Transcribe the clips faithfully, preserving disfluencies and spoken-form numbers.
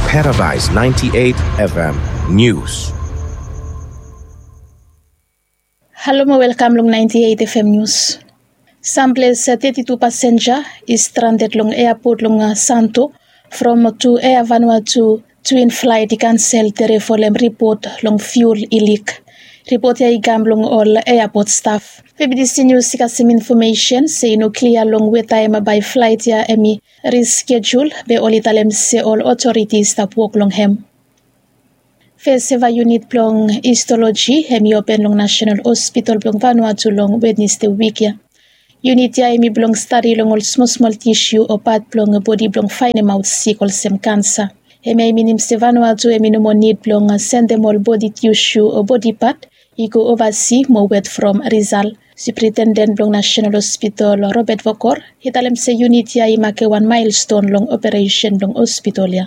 Paradise ninety-eight F M News. Halo mo welkam long ninety-eight F M News. Samples thirty-two pasenja i stranded long eapot long Santo from tu Air Vanuatu twin flight i kansel tere folem ripot long fuel i lik. Ripot ya i kam long ol eapot staf. Febidisi Nius i kasem infomesen se i no klia long we taem bae flaet ya hemi riskejul be oli talem se ol otoriti i stap wok long hem. Fes seva yunit blong histoloji hemi open long Nasenal Hospital blong Vanuatu long Wednesde wik ya. Yunit ya hemi blong stadi long ol smolsmol tisu o pat blong bodi blong faenemaot sik olsem kansa. Hemia i minim se Vanuatu hemi no moa nid blong sendem ol bodi tisu o bodi pat i go ovasi mo wet from risal. Supritenden blong Nasenal Hospital Robert Vokor i talem se yunit ya i make wan maelston long operesen blong hospital ya.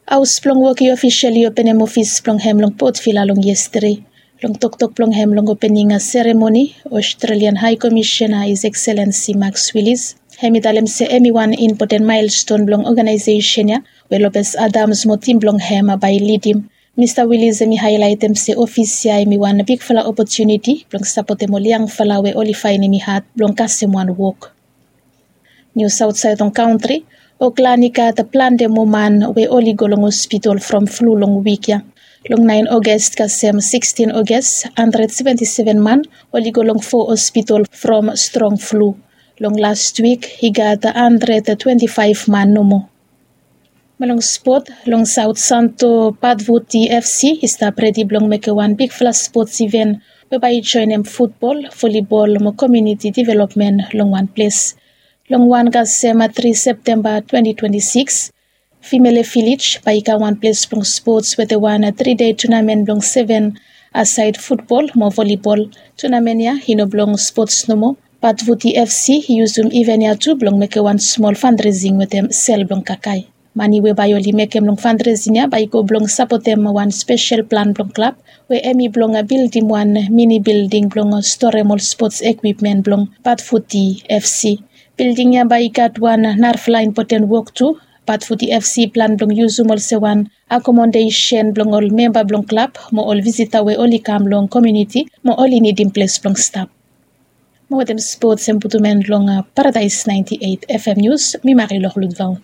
Haos blong wok i ofisel i openem ofis blong hem long Port Vila long yestede. Long toktok blong hem long opening seremoni, Australian High Commissioner His Excellency Max Willis hemi talem se hemi wan impoten maelston blong oganaesesen ya we Lopez Adams mo tim blong hem bae i lidim. Mista Willis hemi haelaetem se ofis ya hemi wan bigfala opotuniti blong sapotem ol yangfala we oli faenem i had blong kasem wan wok. Nius aotsaed long kantri. Oklan i gat plante moa man we oli go long hospital from flu long wik ya. Long naen August kasem sikstin August, handred seventi seven man oli go long fo hospital from strong flu. Long las wik i gat handred twenti faef man nomo. Mo long spot, long Saot Santo Patvuti F C i stap redi blong mekem wan bigfala spots iven we bae i joenem futbol, volibol mo komuniti developmen long wan ples. Long wan kasem tri Septemba twenti twenti sikis, Vimele Vilej bae i kam wan ples blong spots wetem wan tri dei tunamen blong seven asaed futbol mo volibol. Tunamen ya i no blong spots nomo. Patvuti F C i yusum iven ya tu blong mekem wan smol fandresing wetem sel blong kakae. Mane we bae oli mekem long fandresing ya bae i go blong sapotem wan spesel plan blong klab we hemi blong bildim wan mini bilding blong storem ol spots ekwipmen blong Patvuti F C. Bilding ya bae i gat wan narafala impoten wok tu. Patvuti F C i plan blong yusum olsem wan akomodesen blong ol memba blong klab mo ol visita we oli kam long komuniti mo oli nidim ples blong stap. Mo wetem spots hem putum en long Paradaes naenti eit F M Nius, mi Marilou Ludvao.